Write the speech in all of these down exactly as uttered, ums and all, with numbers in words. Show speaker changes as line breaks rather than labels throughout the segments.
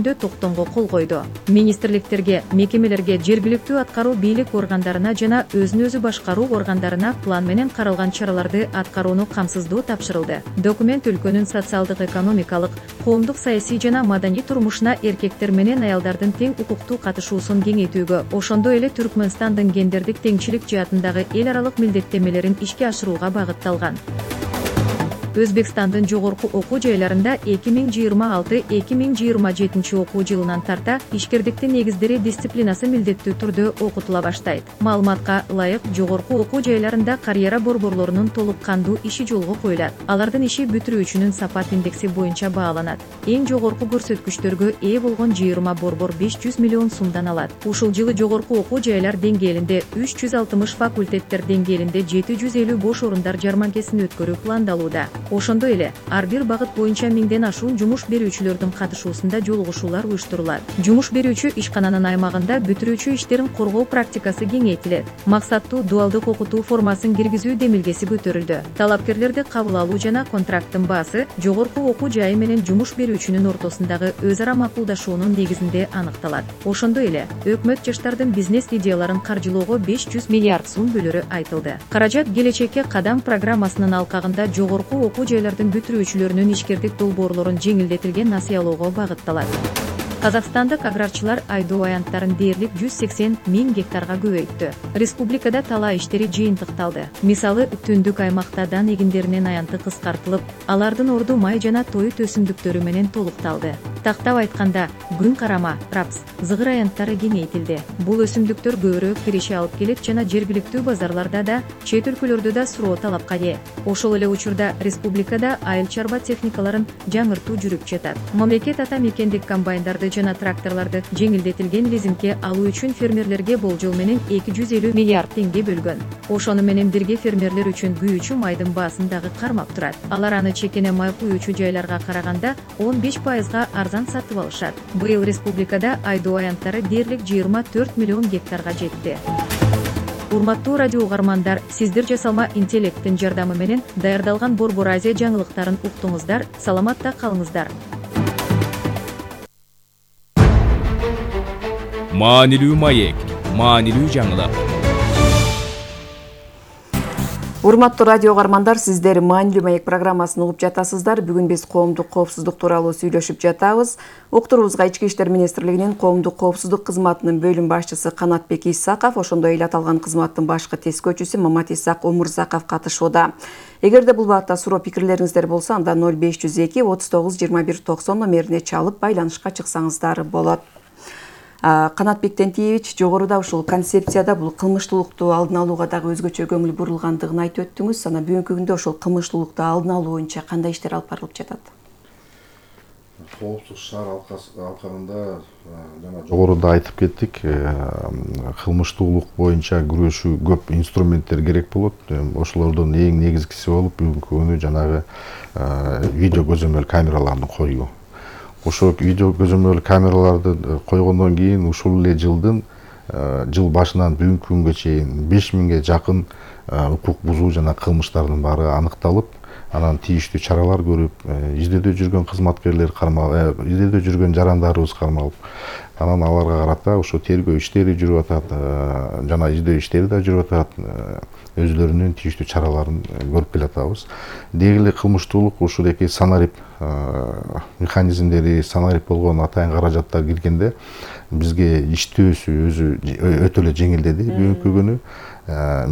токтомго кол койду. Министрликтерге, мекемелерге, жергиликтүү аткаруу бийлик органдарына жана өзүн өзү башкаруу органдарына план менен каралган чараларды аткарууну камсыздоо тапшырылды. Документ өлкөнүн социалдык, экономикалык, коомдук, саясий жана маданий турмушуна эркектер менен аялдардын тең укуктуу катышуусун кеңейтүүгө, ошондой эле Түркмөнстандын гендердик теңчилик жаатындагы эл аралык милдеттемелерин ишке ашырууга багытталган. Өзбекстандын жогорку окуу жайларында эки миң жыйырма алты — эки миң жыйырма жетинчи окуу жылынан тарта ишкердиктин негиздери дисциплинасы милдеттүү түрдө окутула баштайт. Маалыматка ылайык, жогорку окуу жайларында карьера борборлорунун толук кандуу иши жолго коюлат. Алардын иши бүтүрүүчүнүн сапат индекси боюнча бааланат. Эң жогорку көрсөткүчтөргө ээ болгон жыйырма борбор беш жүз миллион сумдан алат. Ушул жылы жогорку окуу жайлар деңгээлинде үч жүз алтымыш, факультеттер деңгээлинде жети жүз элүү бош орундар жарманкесин өткөрүү пландалууда. Ошондой эле ар бир багыт боюнча миңден ашуун жумуш берүүчүлөрдүн катышуусунда жолугушуулар уюштурулат. Жумуш берүүчү ишкананын аймагында бүтүрүүчү иштерин коргоо практикасы кеңейтилет. Максаттуу дуалдык окутуу формасын киргизүү демилгеси көтөрүлдү. Талапкерлерди кабыл алуу жана контракттын баасы жогорку окуу жайы менен жумуш берүүчүнүн ортосундагы өз ара макулдашуунун негизинде аныкталат. Ошондой эле өкмөт жаштардын бизнес идеяларын каржылоого беш жүз миллиард сум бөлөрү айтылды. Каражат келечекке кадам программасынын алкагында жогорку окуу жайлардын бүтүрүүчүлөрүнүн ишкердик долбоорлорун жеңилдетилген насыялоого багытталат. Казакстандык аграрчылар айдоо аянттарын дээрлик жүз сексен миң гектарга көбөйттү. Республикада талаа иштери жыйынтыкталды. Мисалы, түндүк аймакта дан эгиндеринин аянты кыскартылып, алардын орду май жана тоют өсүмдүктөрү менен толукталды. Тактап айтканда, күн карама, рапс, зыгыр аянттары кеңейтилди. Бул өсүмдүктөр көбүрөөк киреше алып келет жана жергиликтүү базарларда да, чет өлкөлөрдө да суроо талапка ээ. Ошол эле учурда республикада айыл чарба техникаларын жаңыртуу жүрүп жатат. Мамлекет ата мекендик комбайндарды жана тракторлорду жеңилдетилген лизингке алуу үчүн фермерлерге болжол менен эки жүз элүү миллиард теңге бөлгөн. Ошону менен бирге фермерлер үчүн күйүүчү майдын баасын дагы кармап турат. Алар аны чекене май күйүүчү жайларга караганда он беш пайызга арзан сатып алышат. Быйыл республикада айдоо аянттары дээрлик жыйырма төрт миллион гектарга жетти. Урматтуу радио угармандар, сиздер жасалма интеллекттин жардамы менен даярдалган Борбор Азия жаңылыктарын уктуңуздар. Саламатта калыңыздар.
Маанилүү маек, маанилүү жаңылык.
Урматтуу радио угармандар, сиздер Маанилүү маек программасын угуп жатасыздар. Бүгүн биз коомдук коопсуздук тууралуу сүйлөшүп жатабыз. Уктуруубузга Ички иштер министрлигинин коомдук коопсуздук кызматынын бөлүм башчысы Канатбек Исаков, ошондой эле аталган кызматтын башкы тескөөчүсү Мамат Исак Омурзаков катышууда. Эгерде бул баатта суроо пикирлериңиздер болсо, анда ноль беш жүз эки отуз тогуз жыйырма бир токсон номерине чалып байланышка чыксаңыздар болот. Канатбек Тентиевич, жогоруда ушул концепцияда бул кылмыштуулукту алдын алууга дагы өзгөчө көңүл бурулгандыгын айтып өттүңүз. Анан бүгүнкү күндө ошол кылмыштуулукту алдын алуу боюнча кандай иштер алып барылып жатат?
Коопсуз шаар алкагында жана жогоруда айтып кеттик, кылмыштуулук боюнча күрөшүү көп инструменттер керек болот. Ошолордун эң негизгиси болуп бүгүнкү күнү жанагы видео көзөмөл камераларын коюу. Ошол видео көзөмөл камераларды койгондон кийин ушул эле жылдын жыл башынан бүгүнкү күнгө чейин беш миңге жакын укук бузуу жана кылмыштардын баары аныкталып, анан тийиштүү чаралар көрүп, изделдөө жүргөн кызматкерлер кармалып, изделдөө жүргөн жарандарыбыз кармалып, анан аларга карата ошо тергөө иштери жүрүп атат, жана издөө иштери да жүрүп атат. Өзлөрүнүн тийиштүү чараларын көрүп келатабыз. Деги эле кылмыштуулук ушундайки санарип механизмдери, санарип болгон атайын каражаттар киргенде бизге иштөөсү өзү өтө эле жеңилдеди бүгүнкү күнү.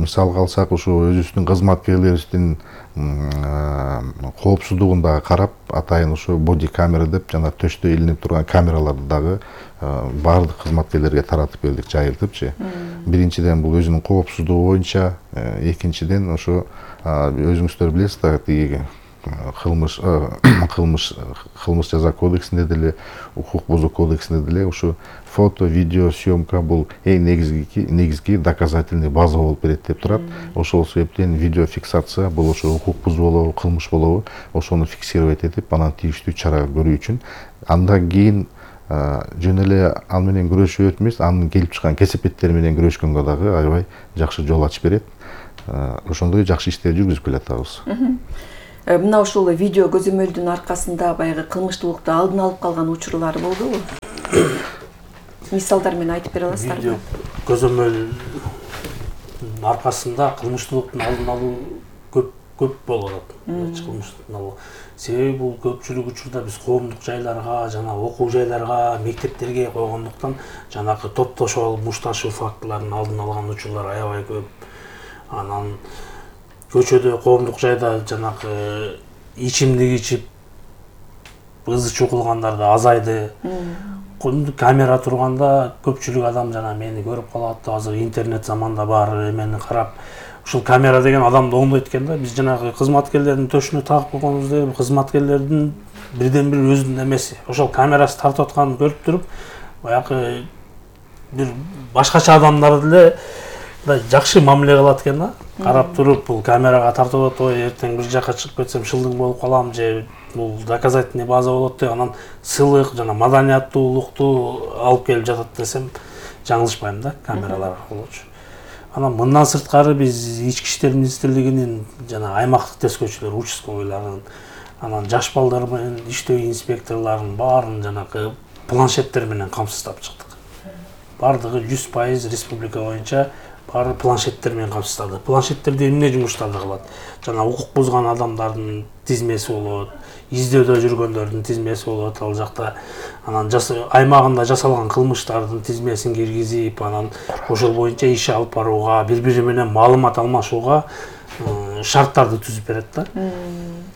Мисалга алсак, ошо өзүбүздүн кызматкерлерибиздин коопсуздугун дагы карап, атайын ошо боди камера деп жана төштө илинип турган камераларды дагы баардык кызматкерлерге таратып бердик, жайылтыпчы. Биринчиден бул өзүнүн коопсуздугу боюнча, экинчиден ошо өзүңүздөр билесиздер, тиги кылмыш кылмыш кылмыш жаза кодексинде деле, укук бузуу кодексинде деле ушу фото, видео съемка бул эң негизги негизги доказательный база болуп берет деп турат. Ошол себептен видео фиксация бул ошо укук бузуу болобу, кылмыш болобу, ошону фиксировать этип, анан тийиштүү чара көрүү үчүн. Андан кийин жөн эле ал менен күрөшүп эмес, анын келип чыккан кесепеттери менен күрөшкөнгө дагы аябай жакшы жол ачып берет. Ошондой жакшы иштер жүргүзүп келатабыз.
Мына ушул видео көзөмөлдүн аркасында баягы кылмыштуулукту алдын алып калган учурлар болдубу? Мисалдар менен айтып бере аласыздарбы?
Видео көзөмөлдүн аркасында кылмыштуулуктун алдын алуу көп көп болуп атат. Кылмыштуулуктун алуу. Себеби бул көпчүлүк учурда биз коомдук жайларга, жана окуу жайларга, мектептерге койгондуктан жанагы топтошуп алып мушташуу фактыларын алдын алган учурлар аябай көп. Анан көчөдө, коомдук жайда жанагы ичимдик ичип ызы чукулгандар да азайды. Камера турганда көпчүлүк адам жана мени көрүп калат. Азыр интернет заманда баары эмени карап, ушул камера деген адамды оңдойт экен да. Биз жанагы кызматкерлердин төшүнө тагып койгонубуз деп, кызматкерлердин бирден бир өзүнүн эмеси. Ошол камерасы тартып атканын көрүп туруп, баягы бир башкача адамдар деле жакшы мамиле кылат экен да. Карап туруп, бул камерага тартып атат, ой, эртең бир жака чыгып кетсем шылдың болуп калам же бул доказательный база болот деп, анан сыйлык жана маданияттуулукту алып келип жатат десем жаңылышпайм да, камералар аркылуучу. Анан мындан сырткары биз Ички иштер министрлигинин жана аймактык тескөөчүлөр, участковыйларын, анан жаш балдар менен иштөө инспекторлорунун баарын жанагы планшеттер менен камсыздап чыктык. Бардыгы жүз пайыз республика боюнча баары планшеттер менен камсыздалды. Планшеттерде эмне жумуштарды кылат? Жана укук бузган адамдардын тизмеси болот, издөдө жүргөндөрдүн тизмеси болот ал жакта. Анан аймагында жасалган кылмыштардын тизмесин киргизип, анан ошол боюнча иш алып барууга, бири-бири менен маалымат алмашууга шарттарды түзүп берет да.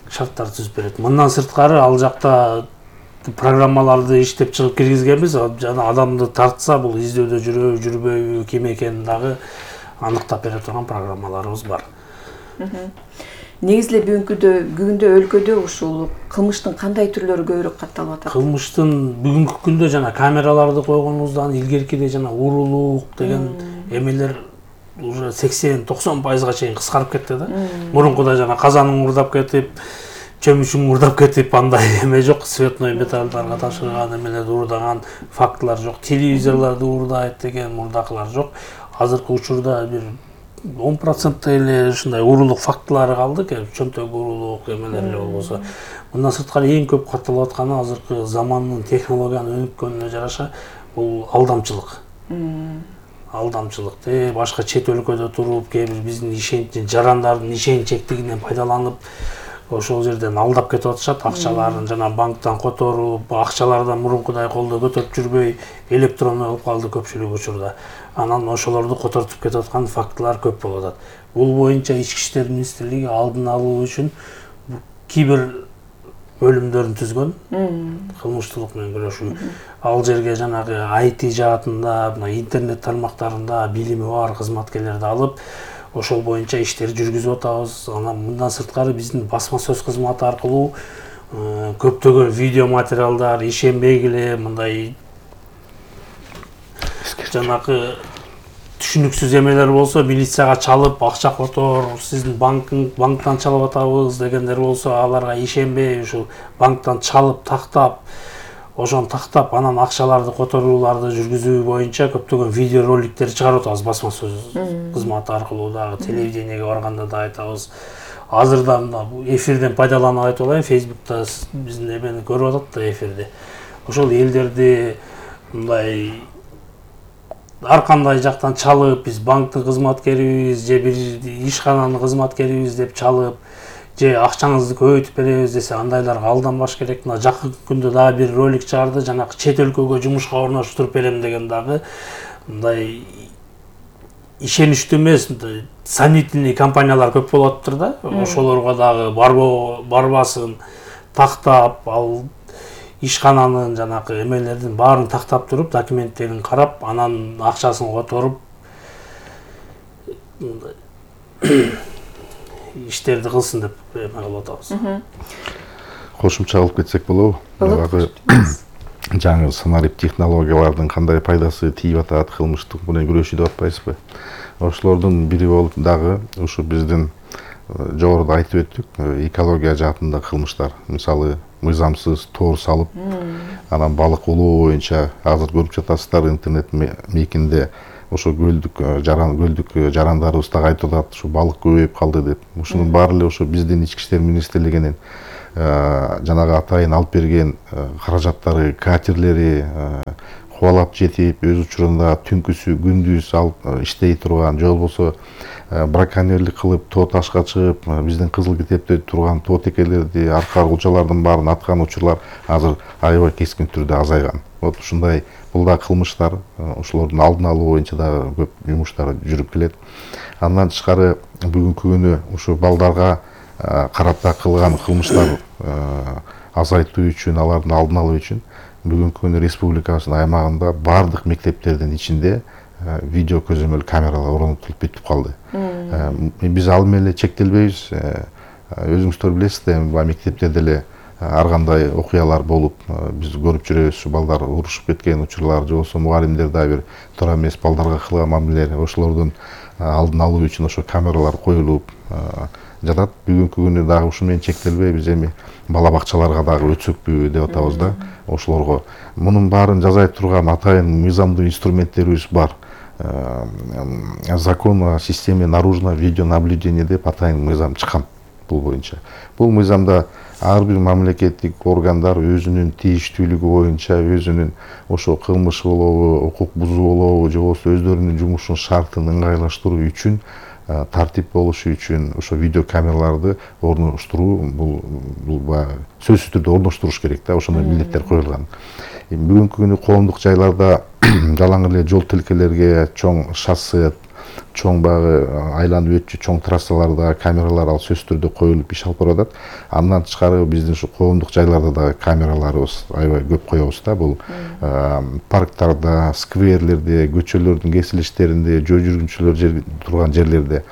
Шарттарды түзүп берет. Мындан сырткары ал жакта программаларды иштеп чыгып киргизгенбиз, жана адамды тартса бул издөдө жүрөбү, жүрбөйбү, ким экенин дагы аныктап бере турган программаларыбыз бар.
Негизи эле бүгүнкүдө бүгүндө өлкөдө ушул кылмыштын кандай түрлөрү көбүрөөк катталып атат? Кылмыштын
бүгүнкү күндө жана камераларды койгонубуздан илгеркиде жана урулуук деген эмелер уже сексен токсон пайызга чейин кыскарып кетти да. Мурункуда жана казанын мурдап кетип, чөмүчүн мурдап кетип, андай эме жок, цветной металлдарга ташырган эмелерди уурдаган фактылар жок, телевизорлорду уурдайт деген мурдакылар жок. Азыркы учурда бир он процент эле ушундай урулук фактылары калды, чөнтөк урулук эмелер эле болбосо. Мындан сырткары эң көп катталып атканы азыркы замандын технологиянын өнүккөнүнө жараша бул алдамчылык. Алдамчылык. Э, башка чет өлкөдө туруп, кээ бир биздин ишенч жарандардын ишенчектигинен пайдаланып, ошол жерден алдап кетип атышат, акчаларын жана банктан которуп, акчалардан мурункудай колдо көтөрүп жүрбөй, электронный болуп калды көпчүлүк учурда. Анан ошолорду котортуп кетип аткан фактылар көп болуп атат. Бул боюнча Ички иштер министрлиги алдын алуу үчүн кибер бөлүмдөрүн түзгөн, кылмыштуулук менен күрөшүү. Ал жерге жанагы ай ти жаатында, интернет тармактарында билими бар кызматкерлерди алып, ошол боюнча иштерди жүргүзүп атабыз. Анан мындан сырткары биздин басма сөз кызматы аркылуу көптөгөн видео материалдар ишенбегиле мындай жанагы түшүнүксүз эмелер болсо милицияга чалып, акча котор, сиздин банктан чалып атабыз дегендер болсо, аларга ишенбей ушул банктан чалып, тактап, ошону тактап, анан акчаларды которууларды жүргүзүү боюнча көптөгөн видео роликтер чыгарып атабыз басма сөз кызматы аркылуу дагы, телевидениеге барганда да айтабыз. Азырда эфирден пайдаланып айтып алайын, Facebook'та биздин эмени көрүп атат да эфирди. Ошол элдерди мындай ар кандай жактан чалып, биз банктын кызматкерибиз же бир ишкананын кызматкерибиз деп чалып, же акчаңызды көбөйтүп беребиз десе, андайларга алданбаш керек. Мына жакын күндө дагы бир ролик чыгарды, жанагы чет өлкөгө жумушка орноштуруп берем деген дагы мындай ишеничтүү эмес, сомнительный компаниялар көп болуп атыптыр да. Ошолорго дагы барбасын тактап, ал ишкананын жанагы эмелердин баарын тактап туруп, документтерин карап, анан акчасын которуп иштерди кылсын деп эме кылып атабыз.
Кошумча кылып кетсек болобу? Баягы жаңы санарип технологиялардын кандай пайдасы тийип атат, кылмыштык менен күрөшүү деп атпайсызбы? Ошолордун бири болуп дагы ушу биздин жогоруда айтып өттүк, экология жаатында кылмыштар. Мисалы, мыйзамсыз тоор салып, анан балык улоо боюнча азыр көрүп жатасыздар интернет мекинде ошо көлдүк жаран көлдүк жарандарыбыз дагы айтып атат, ушу балык көбөйүп калды деп. Ушунун баары эле ошо биздин ички иштер министрлигинин жанагы атайын алып берген каражаттары, катерлери кубалап жетип, өз учурунда түнкүсү күндүз алып иштей турган, же болбосо браконьерлик кылып тоо ташка чыгып, биздин кызыл китепте турган тоо текелерди, арка кулчалардын баарын аткан учурлар азыр аябай кескин түрдө азайган. Вот ушундай бул да кылмыштар, ошолордун алдын алуу боюнча дагы көп жумуштар жүрүп келет. Андан тышкары бүгүнкү күнү ушу балдарга карата кылган кылмыштар азайтуу үчүн, алардын алдын алуу үчүн бүгүнкү күнү республикабыздын аймагында бардык мектептердин ичинде видео көзөмөл камералар орнотулуп бүтүп калды. Биз ал менен эле чектелбейбиз. Өзүңүздөр билесиздер, мектептерде эле ар кандай окуялар болуп, биз көрүп жүрөбүз, ушу балдар урушуп кеткен учурлар, же болбосо мугалимдер дагы бир туура эмес балдарга кылган мамилелер, ошолордун алдын алуу үчүн ошо камералар коюлуп жатат. Бүгүнкү күнү дагы ушу менен чектелбейбиз, эми бала бакчаларга дагы өтсөкпү деп атабыз да. Ошолорго мунун баарын жазай турган атайын мыйзамдуу инструменттерибиз бар. Закон о системе наружного видеонаблюдения деп атайын мыйзам чыккан бул боюнча. Бул мыйзамда ар бир мамлекеттик органдар өзүнүн тийиштүүлүгү боюнча, өзүнүн ошо кылмыш болобу, укук бузуу болобу, же болбосо өздөрүнүн жумушунун шартын ыңгайлаштыруу үчүн, тартип болушу үчүн ошо видео камераларды орноштуруу, бул бул сөзсүз түрдө орноштуруш керек да, ошондой милдеттер коюлган. Бүгүнкү күнү коомдук жайларда жалаң эле жол тилкелерге, чоң шоссе, чоң багы айланып өтчү чоң трассаларда камералар ал сөзсүз түрдө коюлуп иш алып барып атат. Андан тышкары биздин ушу коомдук жайларда дагы камераларыбыз аябай көп коебуз да. Бул парктарда, скверлерде, көчөлөрдүн кесилиштеринде, жөө жүргүнчүлөр турган жерлерде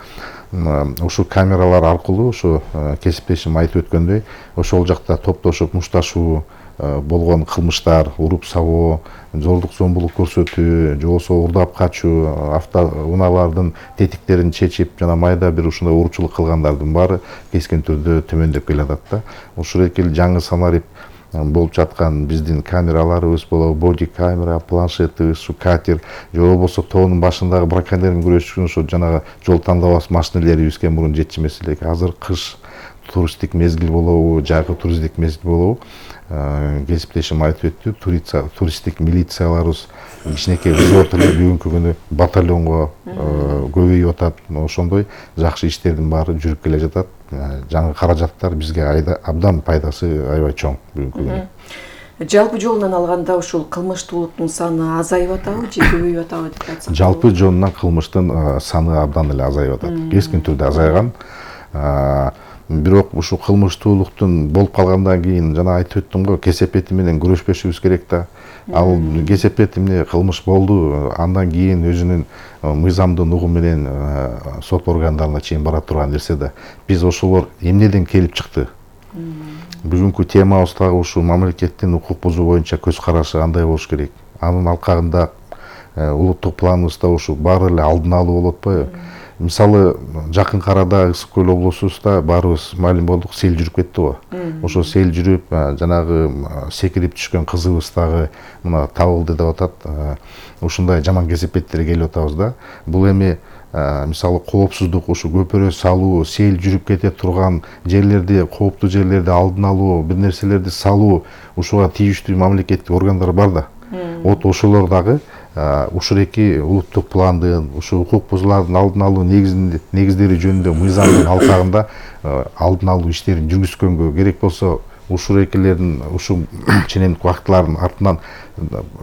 ушул камералар аркылуу ошо кесиптешим айтып өткөндөй, ошол жакта топтошуп мушташуу болгон кылмыштар, уруп сабоо, зордук зомбулук көрсөтүү, же болбосо урдап качуу, автоунаалардын тетиктерин чечип, жана майда бир ушундай уручулук кылгандардын баары кескин түрдө төмөндөп келатат да. Ушул эки жаңы санарип болуп жаткан биздин камераларыбыз болобу, боди камера, планшетибиз, ушу катер, же болбосо тоонун башындагы браконьерлер күрөшүшүн ошо жанагы жол тандабас машинелерибизге мурун жетишмес элек. Азыр кыш туристтик мезгил болобу, жайкы туристтик мезгил болобу, кесиптешим айтып өттү, туристтик милицияларыбыз кичинекей взвод эле бүгүнкү күнү батальонго көбөйүп атат. Ошондой жакшы иштердин баары жүрүп келе жатат. Жаңы каражаттар бизге абдан пайдасы аябай чоң бүгүнкү күнү.
Жалпы жолунан алганда ушул кылмыштуулуктун саны азайып атабы же көбөйүп атабы деп айтсак?
Жалпы жолунан кылмыштын саны абдан эле азайып атат. Кескин түрдө азайган. Бирок ушул кылмыштуулуктун болуп калгандан кийин жана айтып өттүм го, кесепети менен күрөшпөшүбүз керек да. Ал кесепет эмне кылмыш болду, андан кийин өзүнүн мыйзамдуу угу менен сот органдарына чейин бара турган нерсе да. Биз ошолор эмнеден келип чыкты? Бүгүнкү темабыз дагы ушул мамлекеттин укук бузуу боюнча көз карашы кандай болуш керек? Анын алкагында улуттук планыбызда ушул баары эле алдын алуу болуп атпайбы? Мисалы, жакын арада Ысык көл облусубузда баарыбыз маалим болдук, сел жүрүп кетти го. Ошо сел жүрүп, жанагы секирип түшкөн кызыбыз дагы мына табылды деп атат. Ушундай жаман кесепеттер келип атабыз да. Бул эми мисалы коопсуздук, ушу көпүрө салуу, сел жүрүп кете турган жерлерди, кооптуу жерлерди алдын алуу, бир нерселерди салуу, ушуга тийиштүү мамлекеттик органдар бар да. Вот ошолор дагы ушул эки улуттук пландын, ушу укук бузуулардын алдын алуу негиздери жөнүндө мыйзамдын алкагында алдын алуу иштерин жүргүзгөнгө керек болсо, ушул экилердин ушул ченемдик актылардын артынан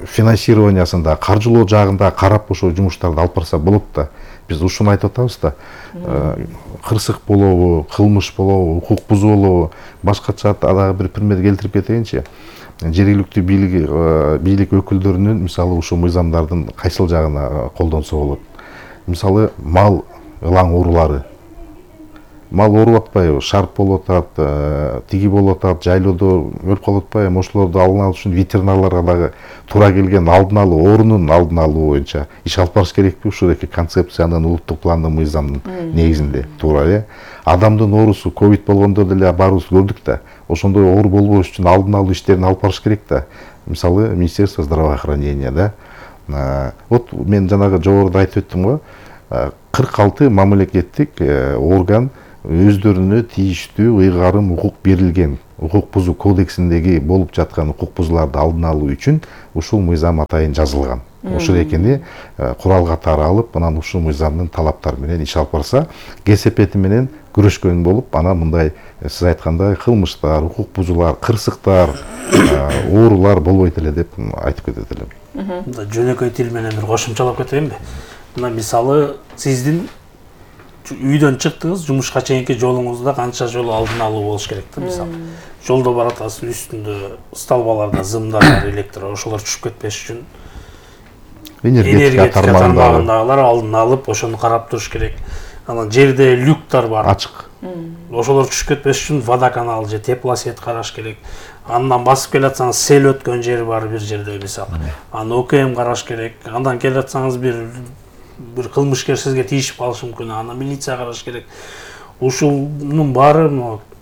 финансированиясын да, каржылоо жагында карап ошол жумуштарды алып барса болот да. Биз ушуну айтып атабыз да. Кырсык болобу, кылмыш болобу, укук бузуу болобу, башкача дагы бир пример келтирип кетейинчи. Жергиликтүү бийлик бийлик өкүлдөрүнүн мисалы ушул мыйзамдардын кайсыл жагына колдонсо болот. Мисалы мал ылаң оорулары. Мал ооруп атпайбы, шарп болуп атат, тиги болуп атат, жайлоодо өлүп калып атпайбы, ошолорду алдын алуу үчүн ветеринарларга дагы туура келген алдын алуу, оорунун алдын алуу боюнча иш алып барыш керекпи? Ушул эки концепциянын улуттук пландын мыйзамдын негизинде туура э. Адамдын оорусу ковид болгондо деле баарыбыз көрдүк да. Ошондой оору болбош үчүн алдын алуу иштерин алып барыш керек да. Мисалы, Министерство здравоохранения да. Вот мен жанагы жогоруда айтып өттүм го, кырк алты мамлекеттик орган өздөрүнө тийиштүү ыйгарым укук берилген. Укук бузуу кодексиндеги болуп жаткан укук бузууларды алдын алуу үчүн ушул мыйзам атайын жазылган. Ошол экени курал катары алып, анан ушул мыйзамдын талаптары менен иш алып барса, кесепети менен күрөшкөн болуп, анан мындай сиз айткандай кылмыштар, укук бузуулар, кырсыктар, оорулар болбойт эле деп айтып кетет элем.
Мында жөнөкөй тил менен бир кошумчалап кетейинби? Мына мисалы сиздин үйдөн чыктыңыз, жумушка чейинки жолуңузда канча жолу алдын алуу болуш керек да, мисалы. Жолдо баратасыз, үстүндө столбаларда зымдар бар, электро, ошолор түшүп кетпеш үчүн энергетика тармагындагылар алдын алып, ошону карап туруш керек. Анан жерде люктар бар,
ачык.
Ошолор түшүп кетпеш үчүн водоканал же теплосет караш керек. Андан басып келатсаңыз, сел өткөн жери бар бир жерде мисалы. Аны ОКМ караш керек. Андан келатсаңыз бир бир кылмышкер сизге тийишип калышы мүмкүн, аны милиция караш керек. Ушунун баары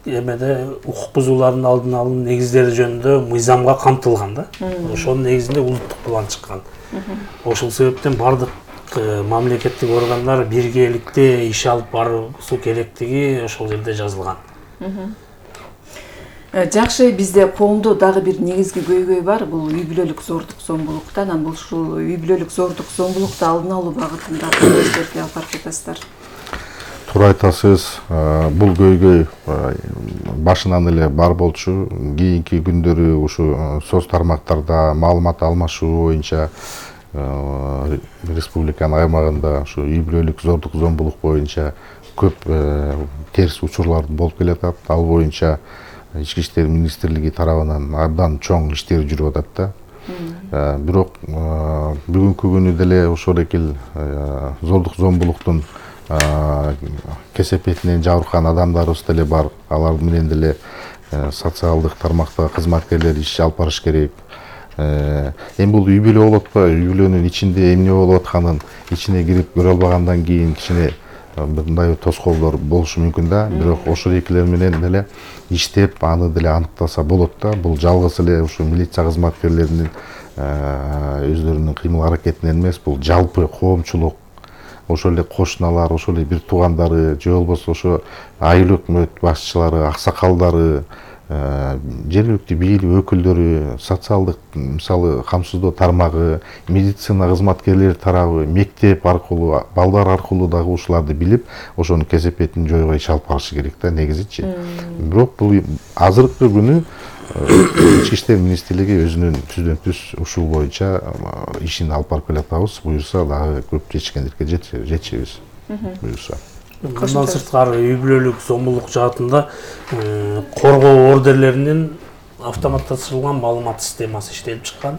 эмеде укук бузуулардын алдын алуу негиздери жөнүндө мыйзамга камтылган да. Ошонун негизинде улуттук план чыккан. Ошол себептен бардык мамлекеттик органдар биргеликте иш алып баруу керектиги ошол жерде жазылган.
Жакшы, бизде коомдо дагы бир негизги көйгөй бар, бул үй бүлөлүк зордук зомбулукта. Анан бул ушул үй бүлөлүк зордук зомбулукту алдын алуу багытында кандай иштерди алып барып жатасыздар?
Туура айтасыз, бул көйгөй башынан эле бар болчу. Кийинки күндөрү ушу соц тармактарда маалымат алмашуу боюнча республиканын аймагында ушу үй бүлөлүк зордук зомбулук боюнча көп терс учурлар болуп келатат. Ал боюнча Ички иштер министрлиги тарабынан абдан чоң иштер жүрүп атат да. Бирок бүгүнкү күнү деле ошол экил зордук зомбулуктун кесепетинен жабыркан адамдарыбыз деле бар. Алар менен деле социалдык тармакта кызматкерлер иш алып барыш керек. Эми бул үй бүлө болуп атпайбы? Үй бүлөнүн ичинде эмне болуп атканын ичине кирип көрө албагандан кийин кичине мындай тоскоолдор болушу мүмкүн да. Бирок ошол экилер менен деле иштеп, аны деле аныктаса болот да. Бул жалгыз эле ушу милиция кызматкерлеринин өздөрүнүн кыймыл аракетинен эмес, бул жалпы коомчулук, ошол эле кошуналар, ошол эле бир туугандары, же болбосо ошо айыл өкмөт башчылары, аксакалдары, жергиликтүү бийлик өкүлдөрү, социалдык мисалы камсыздоо тармагы, медицина кызматкерлери тарабы, мектеп аркылуу, балдар аркылуу дагы ушуларды билип, ошонун кесепетин жойго иш алып барышы керек да негизичи. Бирок бул азыркы күнү Ички иштер министрлиги өзүнүн түздөн түз ушул боюнча ишин алып барып келатабыз. Буюрса дагы көп жетишкендикке жетишебиз. Буюрса.
Мындан сырткары үй бүлөлүк зомбулук жаатында коргоо ордерлеринин автоматташтырылган маалымат системасы иштелип чыккан.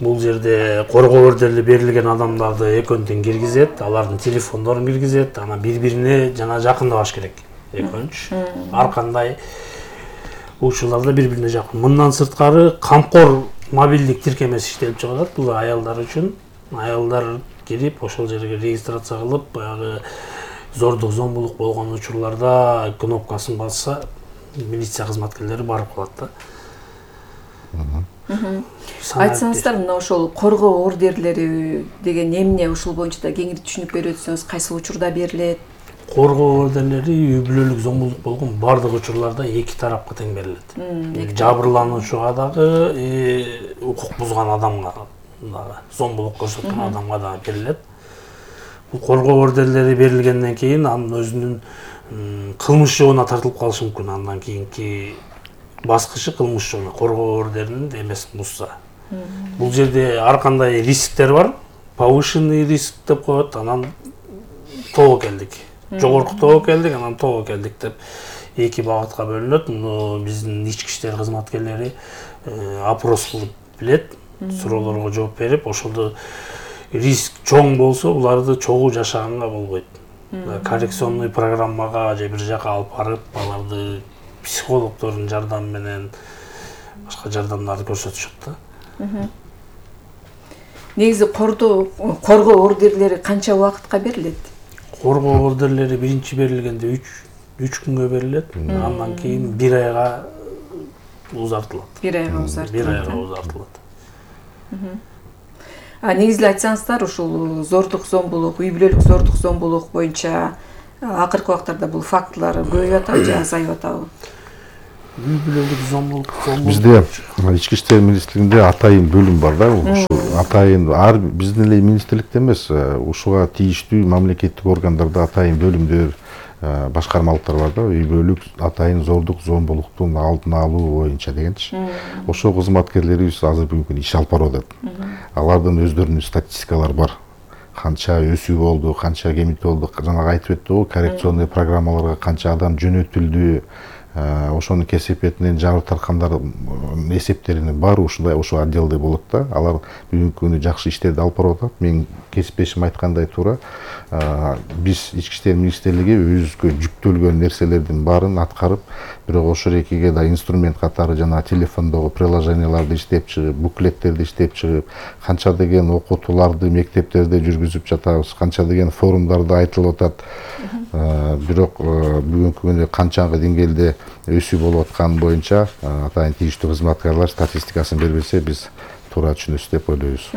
Бул жерде коргоо ордери берилген адамдарды экөөнтөн киргизет, алардын телефондорун киргизет, анан бири-бирине жана жакындабаш керек. Экөөнч ар кандай учурларда бири-бирине жакын. Мындан сырткары камкор мобилдик тиркемеси иштелип чыгат. Бул аялдар үчүн. Аялдар кирип, ошол жерге регистрация кылып, баягы зордук зомбулук болгон учурларда кнопкасын басса, милиция кызматкерлери барып калат да.
Айтсаңыздар, мына ошол коргоо ордерлери деген эмне, ушул боюнча да кеңири түшүнүп берип өтсөңүз, кайсы учурда берилет?
Коргоо ордерлери үй бүлөлүк зомбулук болгон бардык учурларда эки тарапка тең берилет. Жабырлануучуга дагы, укук бузган адамга дагы, зомбулук көрсөткөн адамга дагы берилет. Бул коргоо ордерлери берилгенден кийин анын өзүнүн кылмыш жобуна тартылып калышы мүмкүн. Андан кийинки баскычы кылмыш жобуна, коргоо ордерин эмесин бузса. Бул жерде ар кандай рисктер бар. Повышенный риск деп коет, анан тобокелдик. Жогорку тобокелдик, анан тобокелдик деп эки багытка бөлүнөт. Муну биздин ички иштер кызматкерлери опрос кылып билет, суроолорго жооп берип, ошолду риск чоң болсо, буларды чогуу жашаганга болбойт. Коррекционный программага же бир жака алып барып, аларды психологдордун жардамы менен башка жардамдарды көрсөтүшөт да.
Негизи коргоо ордерлери канча убакытка берилет?
Коргоо ордерлери биринчи берилгенде үч күнгө берилет, андан кийин бир айга узартылат.
Бир айга узартылат.
Бир айга узартылат.
Негизинен айтсаңыздар, ушул зордук зомбулук, үй бүлөлүк зордук зомбулук боюнча акыркы убактарда бул фактылар көбөйүп атабы же азайып атабы?
Үй бүлөлүк зомбулук
бизде ички иштер министрлигинде атайын бөлүм бар да. Ушул атайын ар биздин эле министрликте эмес, ушуга тийиштүү мамлекеттик органдарда атайын бөлүмдөр, башкармалыктар бар да. Үй бүлөлүк атайын зордук зомбулуктун алдын алуу боюнча дегенчи. Ошол кызматкерлерибиз азыр бүгүнкү күндө иш алып барып атат. Алардын өздөрүнүн статистикалары бар. Канча өсүү болду, канча кемит болду, жанагы айтып өттү, коррекционный программаларга канча адам жөнөтүлдү, ошонун кесепетинен жабыр тарткандар эсептеринин баары ушундай ошол отделде болот да. Алар бүгүнкү күндө жакшы иштерди алып барып атат. Мен кесиптешим айткандай туура, биз ички иштер министрлиги өзүбүзгө жүктөлгөн нерселердин баарын аткарып, бирок ошол экиге да инструмент катары жана телефондогу приложенияларды иштеп чыгып, буклеттерди иштеп чыгып, канча деген окутууларды мектептерде жүргүзүп жатабыз, канча деген форумдарда айтылып атат. Бирок бүгүнкү күндө канчанкы деңгээлде өсүү болуп атканы боюнча атайын тийиштүү кызматкерлер статистикасын бербесе, биз туура түшүнөбүз деп ойлойбуз.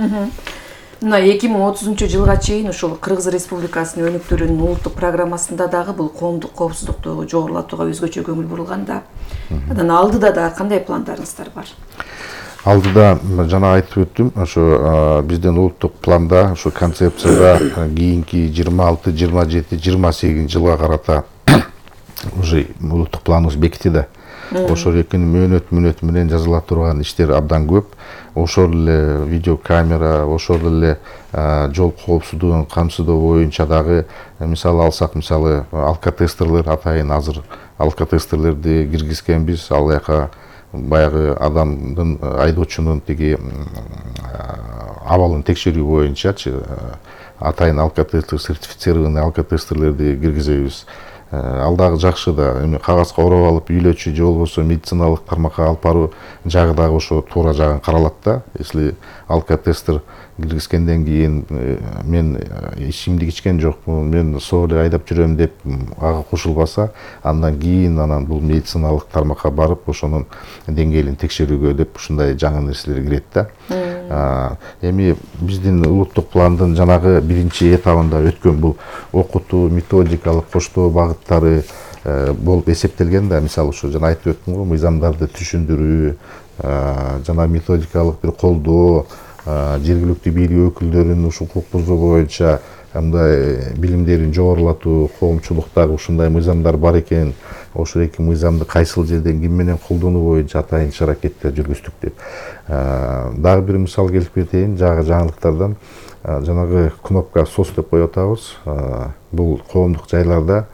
Мына эки миң отузунчу жылга чейин ушул Кыргыз Республикасынын өнүктүрүүнүн улуттук программасында дагы бул коомдук коопсуздукту жогорулатууга өзгөчө көңүл бурулган да. Анан алдыда да кандай пландарыңыздар бар?
Алдыда жана айтып өттүм, ошо биздин улуттук планда, ошо концепцияда кийинки жыйырма алты, жыйырма жети, жыйырма сегизинчи жылга карата уже улуттук планыбыз бекити да. Ошол экинин мөөнөт мүнөт менен жазыла турган иштер абдан көп. Ошол эле видеокамера, ошол эле жол коопсуздугун камсыздоо боюнча дагы мисалы алсак, мисалы алкотестерлер атайын азыр алкотестерлерди киргизгенбиз. Ал жака баягы адамдын, айдоочунун тиги абалын текшерүү боюнчачы атайын алкотестер, сертифицированный алкотестерлерди киргизебиз. Ал дагы жакшы да. Эми кагазга ороп алып үйлөчү же болбосо медициналык тармакка алып баруу жагы дагы ошо туура жагын каралат да. Если алкотестер киргизгенден кийин мен ичимдик ичкен жокмун, мен соо эле айдап жүрөм деп ага кошулбаса, андан кийин анан бул медициналык тармакка барып ошонун деңгээлин текшерүүгө деп ушундай жаңы нерселер кирет да. Эми биздин улуттук пландын жанагы биринчи этабында өткөн бул окутуу, методикалык коштоо багыттары болуп эсептелген да. Мисалы ушу жана айтып өттүм го, мыйзамдарды түшүндүрүү, жана методикалык бир колдоо, жергиликтүү бийлик өкүлдөрүнүн ушул укук бузуу боюнча мындай билимдерин жогорулатуу, коомчулуктагы ушундай мыйзамдар бар экен, ошол эки мыйзамды кайсыл жерден ким менен колдонуу боюнча атайын иш аракеттер жүргүздүк деп. Дагы бир мисал келип кетейин, жагы жаңылыктардан. Жанагы кнопка сос деп коюп атабыз. Бул коомдук жайларда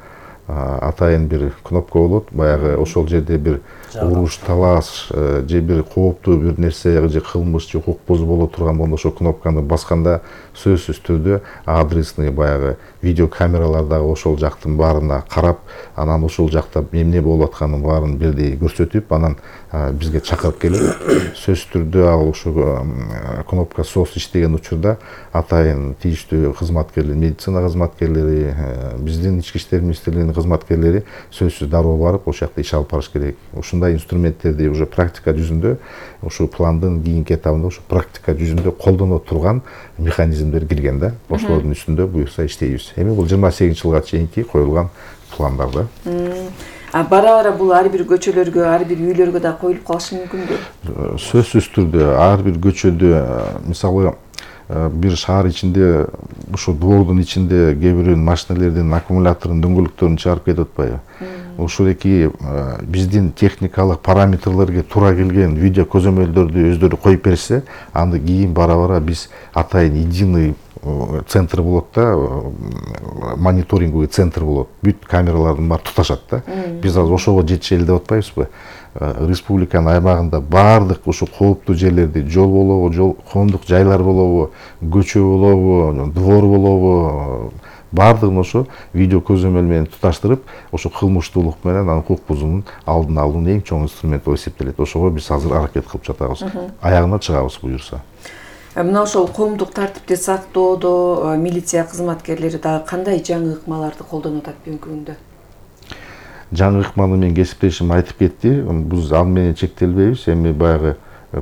атайын бир кнопка болот. Баягы ошол жерде бир уруш, талаш же бир кооптуу бир нерсе же кылмыш же укук бузуу боло турган болсо ошол кнопканы басканда сөзсүз түрдө адресный баягы видеокамералар дагы ошол жактын баарына карап, анан ошол жакта эмне болуп атканын баарын бирдей көрсөтүп, анан бизге чакырып келип, сөзсүз түрдө ал ошол кнопка сос иштеген учурда атайын тийиштүү кызматкерлер, медицина кызматкерлери, биздин ички иштер министрлигинин кызматкерлери сөзсүз дароо барып ошол жакта иш алып барыш керек. Ушундай инструменттерди уже практика жүзүндө, ошол пландын кийинки этабында ошо практика жүзүндө колдоно турган механизмдер кирген да. Ошолордун үстүндө буюрса иштейбиз. Эми бул жыйырма сегизинчи жылга чейинки коюлган пландар да.
Бара-бара бул ар бир көчөлөргө, ар бир үйлөргө да коюлуп калышы мүмкүнбү?
Сөзсүз түрдө ар бир көчөдө, мисалы бир шаар ичинде, ушул двордун ичинде кээ бирөөнүн машиналердин аккумуляторунун дөңгөлөктөрүн чыгарып кетип атпайбы? Ушул эки биздин техникалык параметрлерге туура келген видео көзөмөлдөрдү өздөрү коюп берсе, анда кийин бара-бара биз атайын единый центр болот да, мониторинговый центр болот. Бүт камералардын баары туташат да. Биз азыр ошого жетише эле деп атпайбызбы? Республиканын аймагында баардык ушул кооптуу жерлерди, жол болобу, жол коомдук жайлар болобу, көчө болобу, двор болобу, баардыгын ошо видео көзөмөл менен туташтырып, ошо кылмыштуулук менен анан укук бузуунун алдын алуунун эң чоң инструменти болуп эсептелет. Ошого биз азыр аракет кылып жатабыз. Аягына чыгабыз буюрса.
Мына ошол коомдук тартипти сактоодо милиция кызматкерлери дагы кандай жаңы ыкмаларды колдонуп атат бүгүнкү күндө?
Жаңы ыкманы мен кесиптешим айтып кетти. Биз ал менен чектелбейбиз. Эми баягы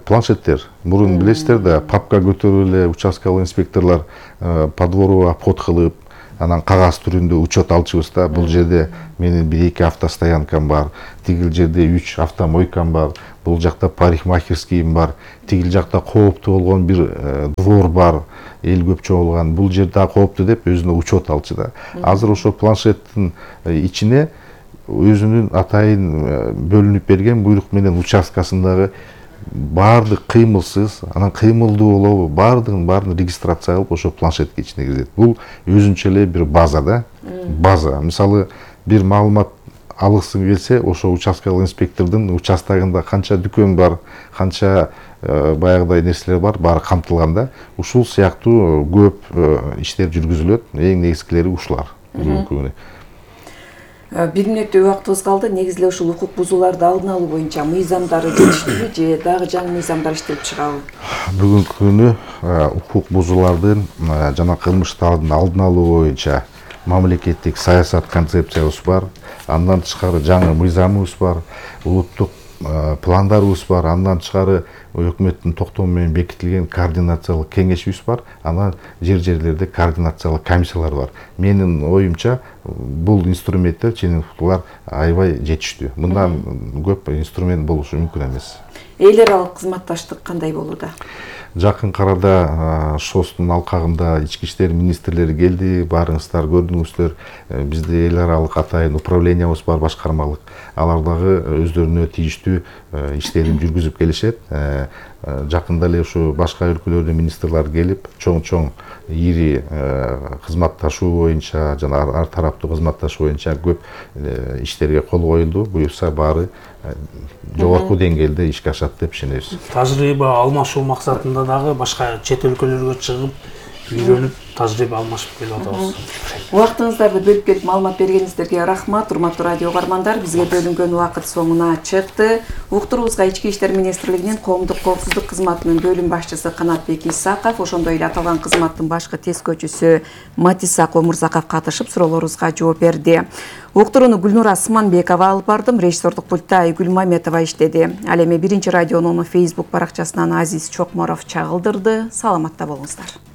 планшеттер. Мурун билесиздер да, папка көтөрүп эле участкалык инспекторлор по двору обход кылып, анан кагаз түрүндө учет алчубыз да. Бул жерде менин бир эки автостоянкам бар, тигил жерде үч автомойкам бар, бул жакта парикмахерскийим бар, тигил жакта кооптуу болгон бир двор бар, эл көп чогулган, бул жер да кооптуу деп өзүнө учет алчу да. Азыр ошо планшеттин ичине өзүнүн атайын бөлүнүп берген буйрук менен участкасындагы баардык кыймылсыз, анан кыймылдуу болобу, баардыгын баарын регистрация кылып ошо планшетке ичине киргизет. Бул өзүнчө эле бир база да. База. Мисалы, бир маалымат алгысы келсе, ошо участкалык инспектордун участогунда канча дүкөн бар, канча баягыдай нерселер бар, баары камтылган да. Ушул сыяктуу көп иштер жүргүзүлөт. Эң негизгилери ушулар.
Бир мүнөттөй убактыбыз калды. Негизи эле ушул укук бузууларды алдын алуу боюнча мыйзамдары жетиштүүбү же дагы жаңы мыйзамдар иштелип чыгабы?
Бүгүнкү күнү укук бузуулардын жана кылмыштардын алдын алуу боюнча мамлекеттик саясат концепциябыз бар. Андан тышкары жаңы мыйзамыбыз бар, улуттук пландарыбыз бар. Андан тышкары өкмөттүн токтому менен бекитилген координациялык кеңешибиз бар. Анан жер-жерлерде координациялык комиссиялар бар. Менин оюмча бул инструменттер ченемдүүлөр аябай жетиштүү. Мындан көп инструмент болушу мүмкүн эмес.
Эл аралык кызматташтык кандай болууда?
Жакын карада ШОСтун алкагында ички иштер министрлери келди, баарыңыздар көрдүңүздөр. Бизде эл аралык атайын управлениябыз бар, башкармалык. Алар дагы өздөрүнө тийиштүү иштерин жүргүзүп келишет. Жакында эле ушу башка өлкөлөрдөн министрлер келип, чоң-чоң ири кызматташуу боюнча жана ар тараптуу кызматташуу боюнча көп иштерге кол коюлду. Буюрса баары жогорку деңгээлде ишке ашат деп ишенебиз.
Тажрыйба алмашуу максатында дагы башка чет өлкөлөргө чыгып, үйрөнүп, тажрыйба алмашып келип атабыз.
Убактыңыздарды бөлүп келип маалымат бергениңиздерге рахмат. Урматтуу радио угармандар, бизге бөлүнгөн убакыт соңуна чыкты. Уктуруубузга Ички иштер министрлигинин коомдук коопсуздук кызматынын бөлүм башчысы Канатбек Исаков, ошондой эле аталган кызматтын башкы тескөөчүсү Матисак Омурзаков катышып суроолорубузга жооп берди. Уктурууну Гүлнура Сыманбекова алып бардым, режиссердук пультта Айгүл Маметова иштеди. Ал эми биринчи радионун Facebook баракчасынан Азиз Чокморов чагылдырды. Саламатта болуңуздар.